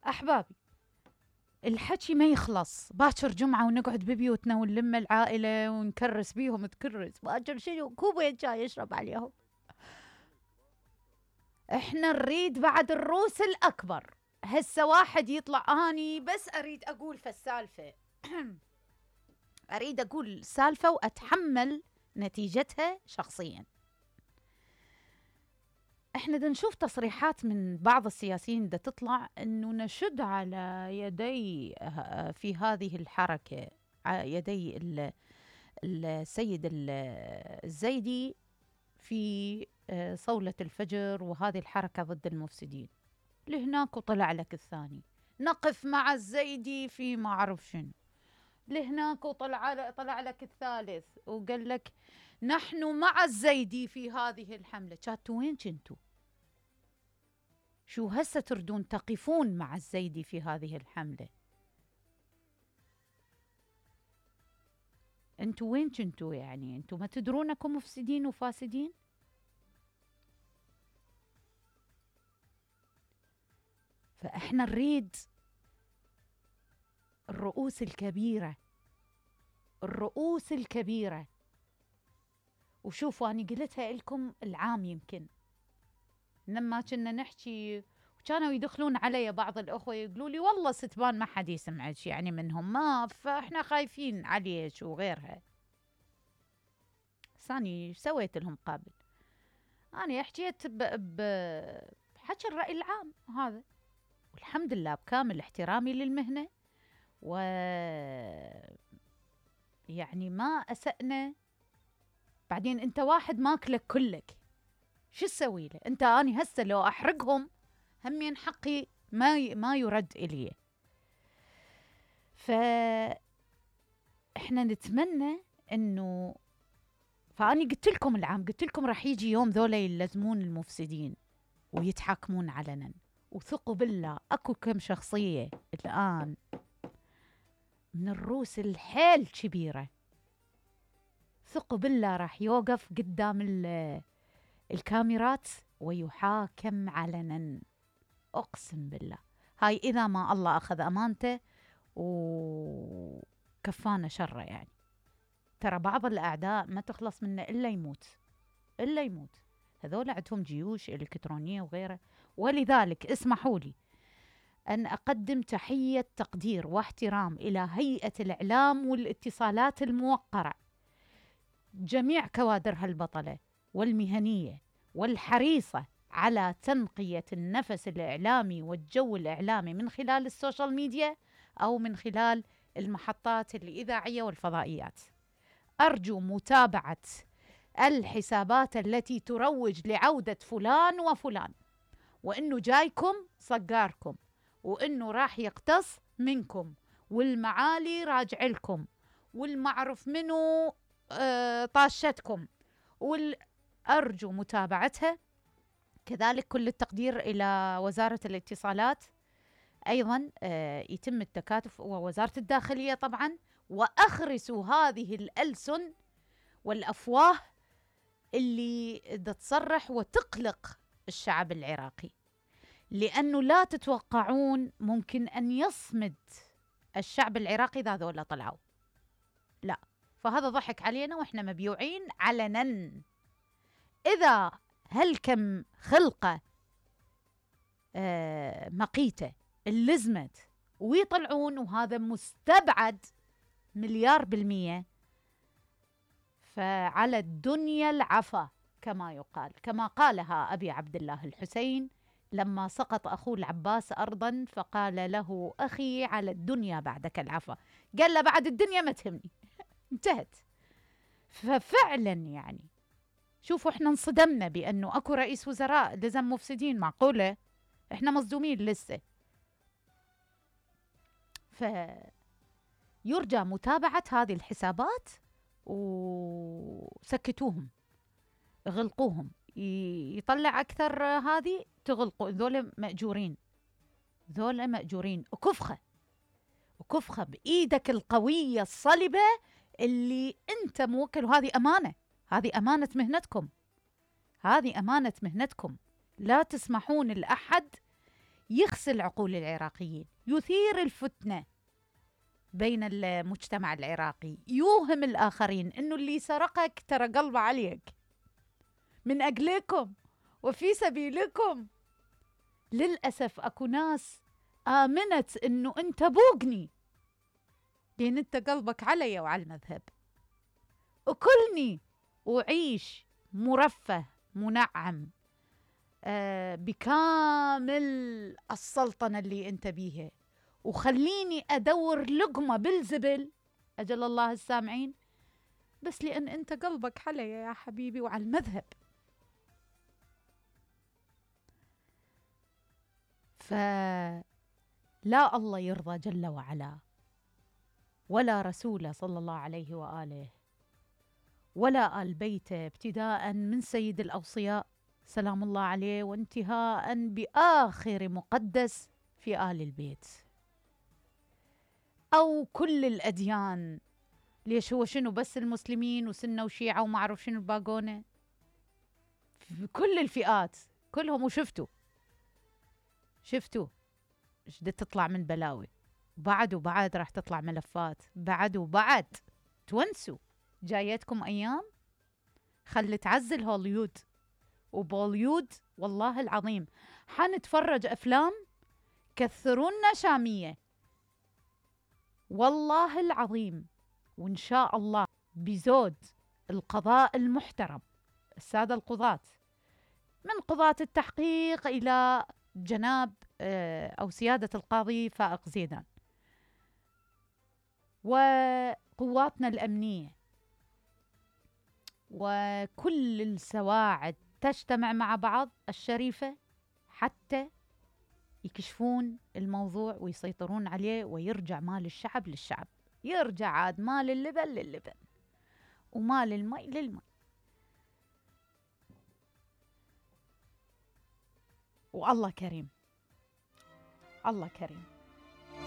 أحبابي، الحكي ما يخلص. باكر جمعة ونقعد ببيوتنا ونلم العائلة ونكرس بيهم، تكرس باكر شنو كوبين شاي يشرب عليهم. احنا نريد بعد الروس الأكبر. هسه واحد يطلع، اني بس اريد اقول فالسالفة اريد اقول سالفة واتحمل نتيجتها شخصيا. احنا دا نشوف تصريحات من بعض السياسيين دا تطلع انه نشد على يدي في هذه الحركة، يدي السيد الزيدي في صولة الفجر وهذه الحركة ضد المفسدين. لهناك وطلع لك الثاني نقف مع الزيدي في ما أعرف شنو، لهناك وطلع لك الثالث وقال لك نحن مع الزيدي في هذه الحملة. كاتوا وين كنتوا؟ شو هسه تردون تقفون مع الزيدي في هذه الحملة؟ انتوا وين كنتوا؟ يعني انتوا ما تدرونكم مفسدين وفاسدين؟ فاحنا نريد الرؤوس الكبيرة، الرؤوس الكبيرة. وشوفوا أنا قلتها لكم العام يمكن لما كنا نحكي وكانوا يدخلون علي بعض الأخوة يقولوا لي والله ستبان ما حد يسمعك يعني منهم، ما فإحنا خايفين عليك وغيرها. ثاني سويت لهم قابل، أنا حكيت بحكي الرأي العام هذا، والحمد لله بكامل احترامي للمهنة، و يعني ما أسأنا. بعدين أنت واحد ماكلك كلك، شو تسوي له؟ أنت أنا هسه لو أحرقهم همين حقي ما يرد إلي. فإحنا نتمنى إنه، فأني قلت لكم العام، قلت لكم راح يجي يوم ذولا يلزمون المفسدين ويتحاكمون علنا، وثقوا بالله أكو كم شخصية الآن من الروس الحيل كبيرة، ثقوا بالله راح يوقف قدام الكاميرات ويحاكم علنا، أقسم بالله. هاي إذا ما الله أخذ أمانته وكفانا شره. يعني ترى بعض الأعداء ما تخلص منه إلا يموت، إلا يموت. هذول عندهم جيوش إلكترونية وغيره. ولذلك اسمحوا لي أن أقدم تحية تقدير واحترام إلى هيئة الإعلام والاتصالات الموقرة، جميع كوادرها البطلة والمهنية والحريصة على تنقية النفس الإعلامي والجو الإعلامي من خلال السوشيال ميديا أو من خلال المحطات الإذاعية والفضائيات. أرجو متابعة الحسابات التي تروج لعودة فلان وفلان، وإنه جايكم صقاركم، وإنه راح يقتص منكم، والمعالي راجع لكم، والمعرف منو طاشتكم، أرجو متابعتها. كذلك كل التقدير إلى وزارة الاتصالات، أيضا يتم التكاتف، ووزارة الداخلية طبعا، وأخرسوا هذه الألسن والأفواه اللي تصرح وتقلق الشعب العراقي، لأنه لا تتوقعون ممكن أن يصمد الشعب العراقي إذا ذولا طلعوا، لا. فهذا ضحك علينا وإحنا مبيوعين علنا. إذا هالكم خلقة مقيتة اللزمت ويطلعون، وهذا مستبعد 100%، فعلى الدنيا العفا كما يقال، كما قالها أبي عبد الله الحسين لما سقط أخوه العباس أرضا فقال له أخي على الدنيا بعدك العفا، قال له بعد الدنيا ما تهمني. انتهت. ففعلا يعني شوفوا احنا انصدمنا بأنه أكو رئيس وزراء لزم مفسدين، معقولة؟ احنا مصدومين لسه. فيرجى متابعة هذه الحسابات وسكتوهم، غلقوهم، يطلع أكثر هذه تغلقوا. ذولا مأجورين، ذولا مأجورين. وكفخة بإيدك القوية الصلبة اللي أنت موكل، وهذه أمانة، هذه أمانة مهنتكم، هذه أمانة مهنتكم. لا تسمحون لأحد يغسل عقول العراقيين، يثير الفتنة بين المجتمع العراقي، يوهم الآخرين إنه اللي سرقك ترى قلبه عليك من أجلكم وفي سبيلكم. للأسف أكو ناس آمنت إنه أنت بوقني لأن أنت قلبك علي وعلى المذهب، أكلني وعيش مرفه منعم بكامل السلطنة اللي أنت بيها، وخليني أدور لقمة بالزبل، أجل الله السامعين، بس لأن أنت قلبك علي يا حبيبي وعلى المذهب. فلا الله يرضى جل وعلا ولا رسوله صلى الله عليه وآله ولا آل بيته، ابتداء من سيد الأوصياء سلام الله عليه وانتهاء بآخر مقدس في آل البيت، أو كل الأديان. ليش هو شنو بس المسلمين وسنة وشيعة وما أعرف شنو الباقونة؟ كل الفئات كلهم. وشفتوا ايش بدها تطلع من بلاوي، بعد راح تطلع ملفات، بعد تونسوا. جايتكم أيام خلي تعزل هوليود وبوليود، والله العظيم حنتفرج أفلام كثرونا شامية والله العظيم. وإن شاء الله بزود القضاء المحترم، السادة القضاة، من قضاة التحقيق إلى جناب أو سيادة القاضي فائق زيدان، وقواتنا الأمنية وكل السواعد تجتمع مع بعض الشريفة حتى يكشفون الموضوع ويسيطرون عليه، ويرجع مال الشعب للشعب، يرجع عاد مال اللبن للبن ومال المي للمي. والله كريم، الله كريم.